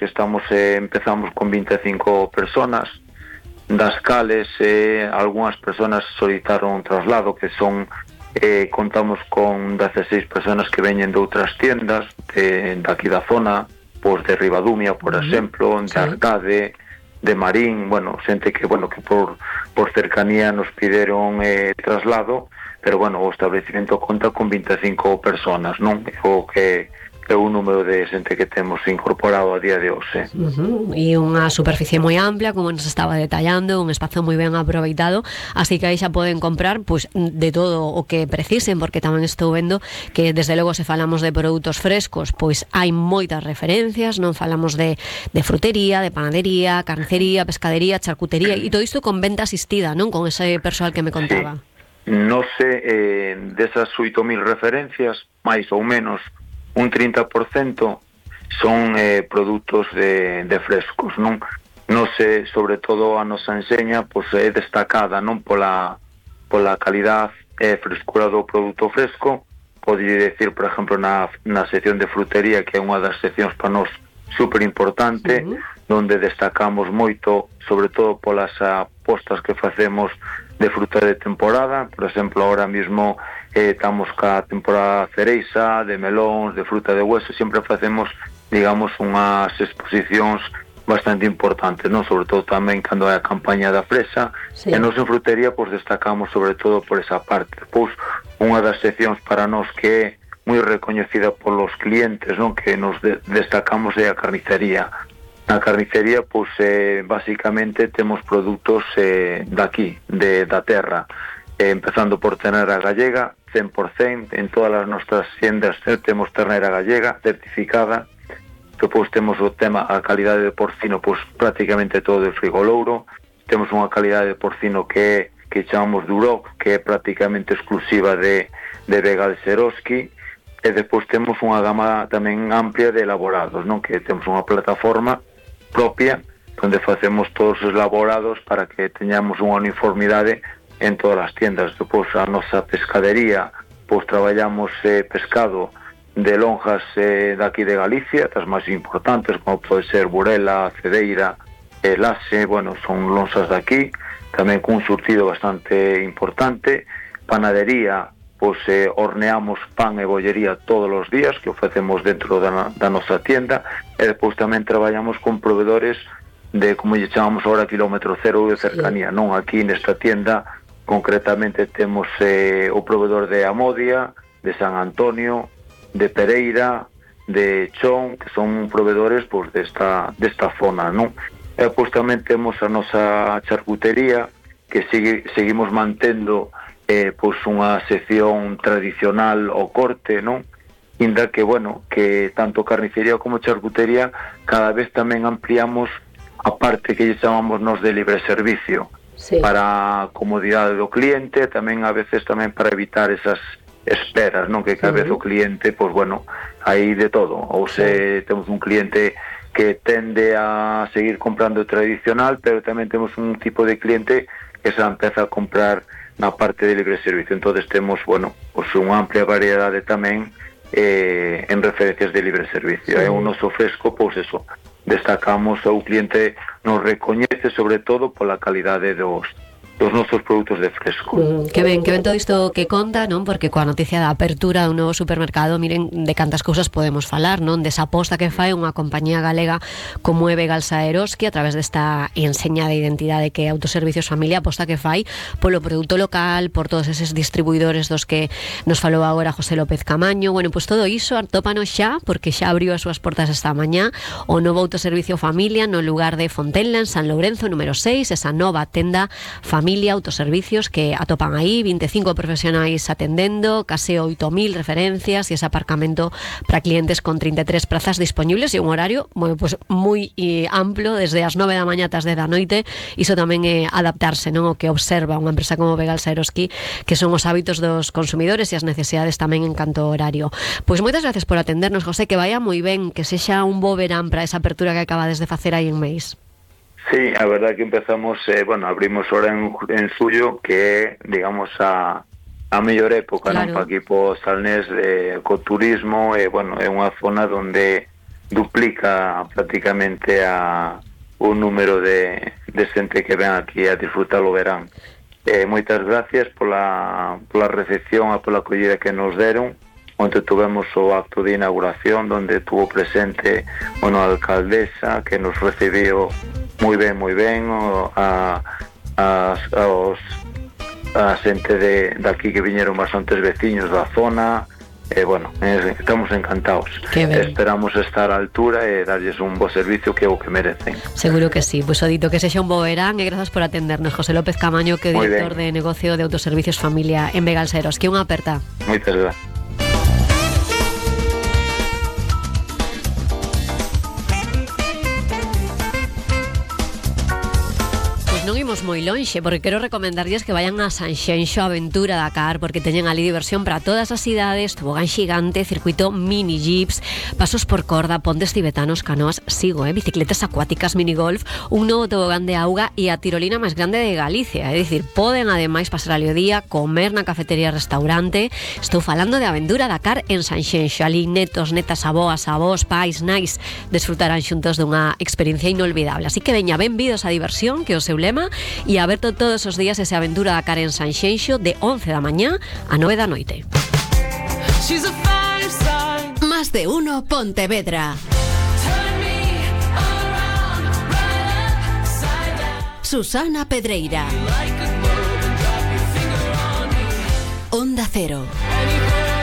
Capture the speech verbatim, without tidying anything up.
que estamos eh, empezamos con vinte e cinco personas, das cales eh, algunhas personas solicitaron traslado, que son eh, contamos con dezasseis personas que veñen de outras tiendas de, de aquí da zona, pois de Ribadumia, por uh-huh. exemplo, de sí. Arcade, de Marín, bueno, xente que, bueno, que por, por cercanía nos pideron eh, traslado, pero, bueno, o establecimento conta con vinte e cinco personas, non? O que é un número de xente que temos incorporado a día de hoxe. Uh-huh. E unha superficie moi ampla, como nos estaba detallando, un espazo moi ben aproveitado, así que aí xa poden comprar pues, de todo o que precisen, porque tamén estou vendo que desde logo se falamos de produtos frescos, pois hai moitas referencias, non falamos de, de frutería, de panadería, carnicería, pescadería, charcutería, e todo isto con venta asistida, non? Con ese persoal que me contaba. Sí. Non sei, eh, desas oito mil referencias, máis ou menos, un trinta por cento son eh, produtos de, de frescos, non? Non sei, sobre todo a nosa enseña pois, é destacada non pola, pola calidad e eh, frescura do produto fresco. Podría decir, por exemplo, na, na sección de frutería, que é unha das seccións para nós super importante, uh-huh. donde destacamos moito, sobre todo polas apostas que facemos de fruta de temporada. Por exemplo, ahora mismo eh, estamos ca temporada cereixa, de melóns, de fruta de hueso, sempre facemos, digamos, unhas exposicións bastante importantes, non? Sobre todo tamén cando hai a campaña da fresa, sí. E nos en frutería, pois, destacamos sobre todo por esa parte. Pois, unha das seccións para nós que é moi recoñecida polos clientes, non? Que nos de- destacamos é a carnicería. Na carnicería, pois, eh, basicamente, temos produtos eh, daqui, de, da terra, eh, empezando por ternera gallega, cen por cento, en todas as nosas tiendas eh, temos ternera gallega, certificada. Depois temos o tema, a calidade de porcino, pois prácticamente todo de Frigolouro. Temos unha calidade de porcino que é, que chamamos Duroc, que é prácticamente exclusiva de, de Vegal Seroski. E depois temos unha gama tamén amplia de elaborados, non? Que temos unha plataforma propia onde facemos todos os elaborados para que teñamos unha uniformidade en todas as tiendas. Depois a nosa pescadería, pois traballamos eh, pescado de lonjas eh, daqui de Galicia, das máis importantes, como pode ser Burela, Cedeira, eh, Lase, bueno, son lonxas daqui, tamén cun surtido bastante importante. Panadería, pois eh, horneamos pan e bollería todos os días, que o facemos dentro da, da nosa tienda, e depois tamén traballamos con proveedores de, como lle chamamos agora, kilómetro cero de cercanía, sí. Non? Aquí nesta tienda concretamente temos eh, o proveedor de Amodia, de San Antonio, de Pereira, de Chón, que son proveedores pois, desta, desta zona, non? E pois tamén temos a nosa charcutería, que sigue, seguimos mantendo eh, pois unha sección tradicional ao corte, non? Inda que, bueno, que tanto carnicería como charcutería cada vez tamén ampliamos a parte que lle chamamos nos de libre servicio. Sí. Para a comodidade do cliente, tamén a veces tamén para evitar esas esperas, non? Que cada vez o cliente, pois bueno, hai de todo. Ou se sí. Temos un cliente que tende a seguir comprando tradicional, pero tamén temos un tipo de cliente que se empeza a comprar na parte de libre servicio. Entonces temos, bueno, pois unha amplia variedade tamén eh, en referencias de libre servicio. É sí. Un noso fresco, pois eso, destacamos, o cliente nos recoñece sobre todo pola calidade dos dos nosos produtos de fresco. Mm, que ben, que ben todo isto que conta, non? Porque coa noticia da apertura dun novo supermercado, miren de cantas cousas podemos falar, non? Desa aposta que fai unha compañía galega como é Vegal Saeroski a través desta enseña de identidade que é Autoservicios Familia, aposta que fai polo produto local, por todos eses distribuidores dos que nos falou agora José López Camaño. Bueno, pois pues todo iso atópanos xa, porque xa abriu as súas portas esta mañá o novo Autoservicio Familia no lugar de Fontenla, en San Lourenzo, número seis, esa nova tenda Familia Autoservicios que atopan aí, vinte e cinco profesionais atendendo, case oito mil referencias e ese aparcamento para clientes con trinta e tres prazas disponibles e un horario, bueno, pues moi eh, amplo, desde as nove da mañá ata as dez da noite. Iso tamén é adaptarse, non? O que observa unha empresa como Vegal Saeroski, que son os hábitos dos consumidores e as necesidades tamén en canto ao horario. Pois moitas gracias por atendernos, José, que vaya moi ben, que sexa un bo verán para esa apertura que acabades de facer aí en Meis. Sí, a verdad que empezamos, eh, bueno, abrimos ahora en, en Suyo, que é, digamos, a, a mellor época, claro. Non? Para aquí po Salnés, eh, co turismo, e, eh, bueno, é unha zona donde duplica prácticamente a o número de, de xente que ven aquí a disfrutar o verán. Eh, moitas gracias pola, pola recepción e pola acollida que nos deron. Onde tuvemos o acto de inauguración donde tuvo presente, bueno, a alcaldesa que nos recibiu moi ben, moi ben, o, a, a, a, os, a xente de, de aquí que viñeron bastantes veciños da zona. E, eh, bueno, eh, estamos encantados. Esperamos estar á altura e darlles un bo servicio que é o que merecen. Seguro que sí. Pois pues, o dito que sexa un bo verán e grazas por atendernos, José López Camaño, que é director de negocio de autoservicios familia en Begalseros. Que unha aperta. Moitas gracias. Non imos moi lonxe, porque quero recomendarlles que vayan a Sanxenxo Aventura Dakar, porque teñen ali diversión para todas as idades, tobogán xigante, circuito mini jeeps, pasos por corda, pontes tibetanos, canoas, sigo, eh, bicicletas acuáticas, minigolf, un novo tobogán de auga e a tirolina máis grande de Galicia. É dicir, poden ademais pasar ali o día, comer na cafetería restaurante. Estou falando de Aventura Dakar en Sanxenxo. Ali netos, netas, aboas, avós, pais, nais desfrutarán xuntos dunha experiencia inolvidable. Así que veña, benvidos a diversión, que é o seu lema, e aberto todos os días ese Aventura Dakar en Sanxenxo de once da mañá a nove da noite. Más de uno Pontevedra. Susana Pedreira. Onda Cero.